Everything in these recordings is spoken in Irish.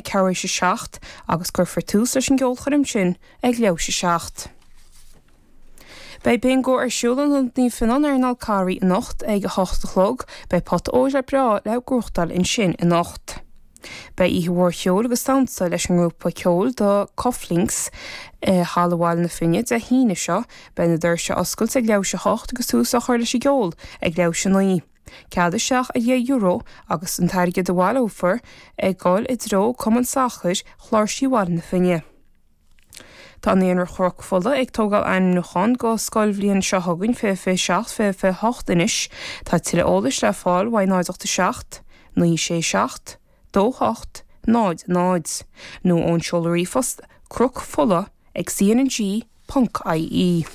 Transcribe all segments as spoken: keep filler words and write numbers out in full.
ceathrú théis a seacht agus cuirfear tús leis an gceolchoirm sin ag leathuair théis a seacht. Beidh bingo ar siúl in Ionad Naomh Fionnán ar an Fhál Carraigh anocht ag a hocht a chlog, beidh pota óir le breá le gnóthachtáil ansin anocht. Beidh oíche mhór cheoil agus damhsa leis an ngrúpa ceoil The Cufflinks i Halla Bhaile na Finne Dé hAoine seo, beidh na doirse oscailte ag leathuair théis a hocht agus tús á chur leis an gceol ag leathuair théis a naoi. Cead isteach ar dheich euro agus an t-airgead a bhaileofar ag dul i dtreo Cumann Sacair Chláirsí Bhaile na Finne. Tá Naíonra Chnoc Fola ag tógáil ainmniúchán go scoilbhliain seo chugainn fiche fiche seacht fiche fiche hocht anois. Tá tuilleadh eolais le fáil uaidh náid ocht a seacht, naoi sé seacht, dó hocht, náid náid nó ón seoladh ríomhphost cnocfola ag cnng ponc ie.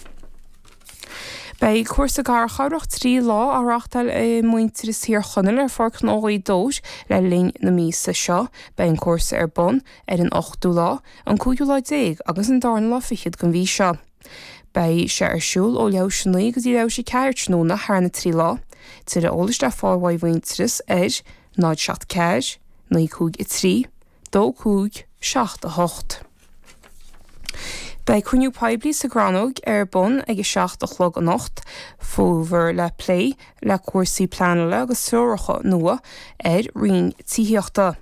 Beidh cúrsa garchabhrach trí lá á reáchtáil ag Muintearas Thír Chonaill ar Pháirc Ghnó Ghaoth Dobhair le linn na míosa seo. Beidh an cúrsa ar bun ar an ochtú lá, an cúigiú lá déag agus an darna lá fichead den mhí seo. Beidh sé ar siúl ó leathuair théis a naoi go dtí leathuair théis a ceathair tráthnóna thar na trí lá. Tuilleadh eolais le fáil uaidh Mhuintearas ar náid seacht ceathair, naoi cúig a trí, dó cúig, seacht a hocht. Beidh cruinniú poiblí sa gCrannóg ar bun ag a seacht a chlog anocht, faoi le plé le cúrsaí pleanála agus treoracha nua ar roinn tithíochta.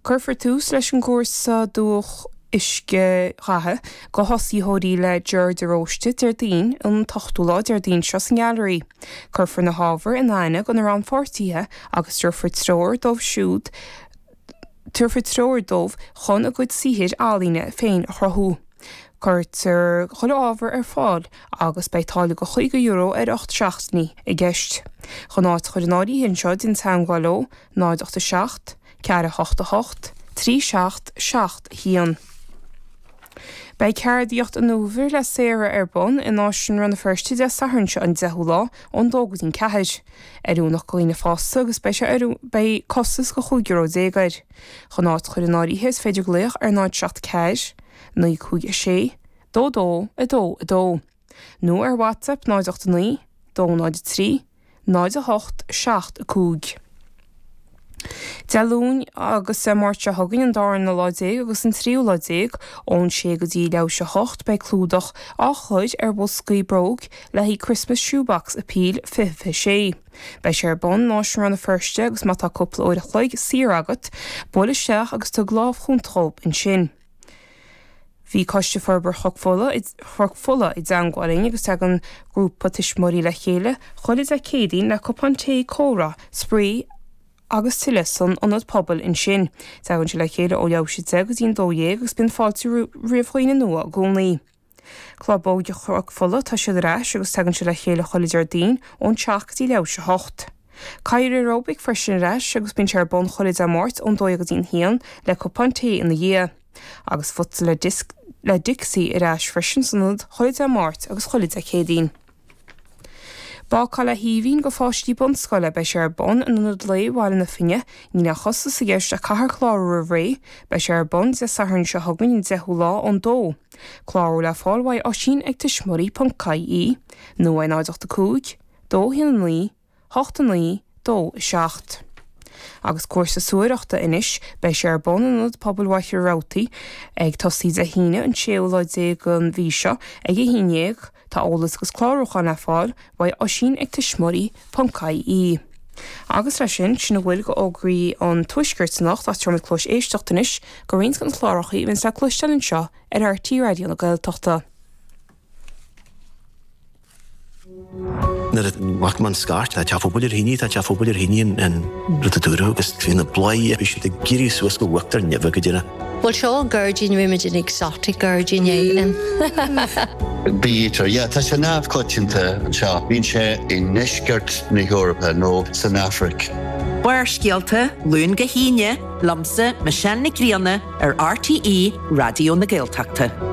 Cuirfear tús leis an gcúrsa dúch uiscedhatha do thosaitheoirí le Ger de Róiste Déardaoin an t-ochtú lá Déardaoin seo sa nGailearaí. Cuirfear na hábhair in aithne do na rannpháirtithe agus tabharfar treoir dóibh siúd tabharfar treoir dóibh chun a gcuid saothair ealaíne féin a chruthú. Cuirtear chuile ábhar ar fáil agus beidh táille de chaoga euro ar ocht seachtainí i gceist. Chun áit a chur in áirithe anseo déan teagmháil leo náid ocht a seacht, ceathair a hocht a hocht, trí seacht seacht a haon. Beidh ceardaíocht an uabhair le Sarah ar bun in Áislann Rann na Feirste Dé Sathairn seo an deichiú lá ón dó go dtí an ceathair. Oiriúnach do dhaoine fásta agus beidh sé ar beidh costas de chúig euro déag air. Chun áit a chur in áirithe is féidir glaoch ar náid seacht ceathair, naoi cúig a sé, dó dó a dó a dó. Nó ar WhatsApp náid ocht a naoi, dó náid a trí, náid a hocht seacht a cúig. Dé Luain agus Dé Máirt seo chugainn an darna lá déag agus an tríú lá déag ón sé go dtí leathuair théis a hocht beidh clúdach á chur ar bhoscaí bróg le haghaidh Christmas Shoebox Appeal fiche fiche sé. Beidh sé ar bun in Áislann Rann na Feirste agus má tá cúpla uair a chloig saor agat, buail isteach agus tug lámh chúnta dhóibh ansin. Bhí Coiste Forbartha Chnoc Fola Chnoc Fola i dteagmháil linn agus tagann grúpa tuismitheoirí le chéile chuile Dé Céadaoin le cupán tae comhrá, spraoi agus tuilleadh san ionad pobail ansin. Tagann siad le chéile ó leathuair théis a deich go dtí an dó dhéag agus bíonn fáilte roimh dhaoine nua i gcónaí. Club Óige Chnoc Fola tá siad ar ais agus tagann siad le chéile chuile Déardaoin ón seacht go dtí leathuair théis a hocht. Cadhar Aeróbic freisin ar ais agus bíonn sé ar bun chuile Dé Máirt ón dó dhéag go dtí an haon le cupán tae ina dhiaidh. Agus futsal le disc le Dixie ar ais freisin san ionad chuile Dé Máirt agus chuile Dé Céadaoin. Bácáil le hAoibhinn do pháistí bunscoile beidh sé ar bun in ionad lae Bhaile na Finne, níl aon chostas i gceist ach caithfear clárú roimh ré, beidh sé ar bun Dé Sathairn seo chugainn an deichiú lá ón dó. Clárú le fáil uaidh Oisín ag tuismitheoirí ponc ie nó ar náid ocht a cúig, dó haon a naoi, hocht a naoi, dó a seacht. Agus cúrsa suaireachta anois, beidh sé ar bun in ionad pobail Mhachaire Rabhartaigh ag tosaí Dé hAoine an séú lá déag den mhí seo ag a haon déag, tá eolas agus clárúchán le fáil uaidh Oisín ag tuismitheoirí ponc ie. Agus leis sin, sin a bhfuil de fhógraí an tuaiscirt anocht ach tabharfaimid cluas éisteachta anois do roinnt de na cláracha a bhíonns le cloisteáil anseo ar RTÉ Raidió na Gaeltachta. Nuair a bhac mé an scairt, tá teach pobail ar thine, tá teach pobail ar thine an rud a dúradh agus bhí na bladhairí, bhí siad ag éirí suas go uachtar neimhe go deireadh. Bhuel seo an gairdín, bhí muid in exotic gairdín é. Bee-eater, yeah, tá sé neamhchoitianta anseo. Bíonn sé i ndeisceart na hEorpa nó san Afraic. Barrscéalta, Luan go hAoine, liomsa, Michelle Nic Grianna, ar RTÉ Raidió na Gaeltachta.